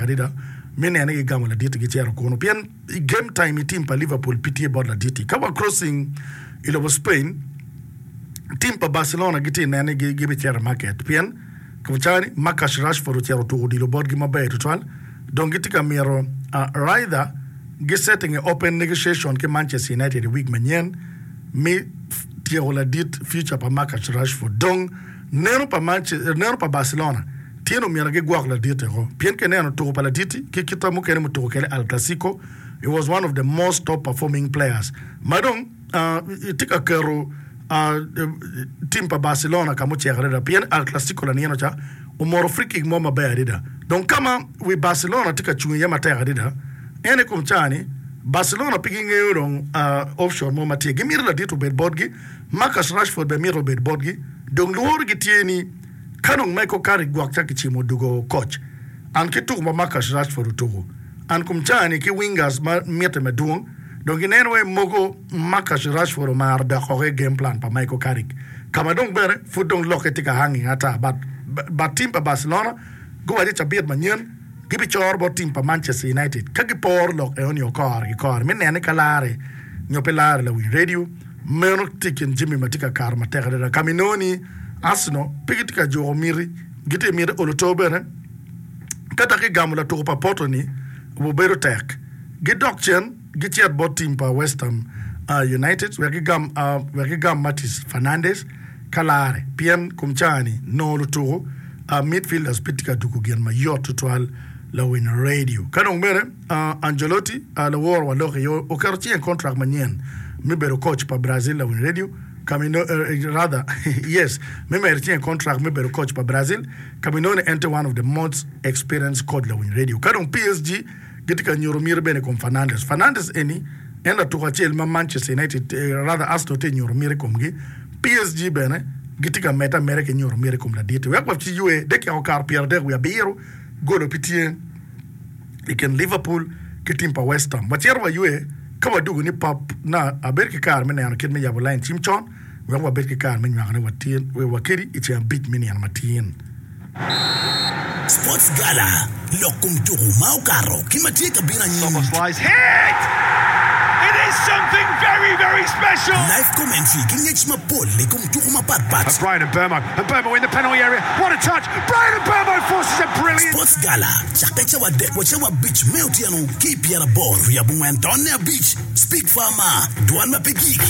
adada me nene gigamo ladit-ti gicito kunu pien i game time i team pa Liverpool pe tye bot ladit-ti. Ka wa crossing i lobo Spain, team pa Barcelona gitye nene ni gibicito i market pien cani Marcus Rashford ocito otuko odilo botgi maber tutwal dong gitye ka mito rather gi setting a open negotiation ki Manchester United i week manyen me tyeko ladit future pa Marcus Rashford dong neno pa neno pa Barcelona tye ni omyero gigwok ladit eko pien ka ineno tuko pa ladit-ti ki kite mukene mutuko kwede Al Clasico he was one of the most top performing players ma dong tye ka keto tim pa Barcelona ka mucek adada pien Al Clasico lanino ca omoto free kick mo maber adada dong ka ma wi Barcelona tye ka cung iye matek adada en i kom ca-ni Barcelona pe gingeyo dong option mo ma tye gimito ladit obed botgi Marcus Rashford bene mito obed botgi dong lworogi tye ni Ka dong Michael Carrick gwok ca kicimo odwogo koc, an ki tuko ma Marcus Rashford otuko, an kom caa-ni ki wingers ma mitte madwong, dong gineno wai mogo Marcus Rashford omaro dok oko i game plan pa Michael Carrick, ka ma dong bene pud dong lokke tye ka hanging ata. But but team pa Barcelona guwaco i cabit manyen gibicoro bot team pa Manchester United ka giporo lok enoni o kore ki kore me nene ni ka lare nyo pe lare lawiny radio. Meno tye i kin jami ma tye ka kato matek adada. Ka ma inongo ni Arsenal pe gitye ka juko miti, gitye ka miti olo to bene. Ka dok gigamo latuko pa Porto-ni, obedo tek. Gidok cen gicit bot tim pa West Ham United wek gigam wek gigam Matheus Fernandes ka lare pien kom caa-ni nongo lutuko midfielders pe tye ka tuko gin mayot tutwal lawiny radio. Ka dong bene Ancelotti laworo wa lok iye oketo cinge i kontrak manyen me bedo koc pa Brazil lawiny radio ka ma inongo rather yes me medo cinge i kontrak me bedo koc pa Brazil ka ma inongo ni en tye one of the most experienced coach lawiny radio. Ka dong PSG gitye ka nyuto miti bene i kom Fernandes. Fernandes eni en latuko acel ma Manchester United rather Arsenal tye ka nyuto miti i komgi. PSG bene gitye ka medde ameda ki nyuto miti i kom ladit-ti wek wa ci ywe dakika okato 37 golo pe tye. i kin Liverpool ki tim pa West Ham. Wacito waywe ka wadwogo ni pap na abedo ki kare me neno kit me yabo lain cim con wek wabed ki kare me nywakone wakedi i ceng abic me nino matin. Sports Gala, Lok kom tuku ma okato ki ma tye ka bino anyim. Live commentary ki ngec mapol i kom tuku mapat pat. Sports Gala, cakke cawa adek wa cawa abic me otyeno ki i pyeraboro wiye abongwen tonne abic. Speak Farmer, Dwan ma pe gik.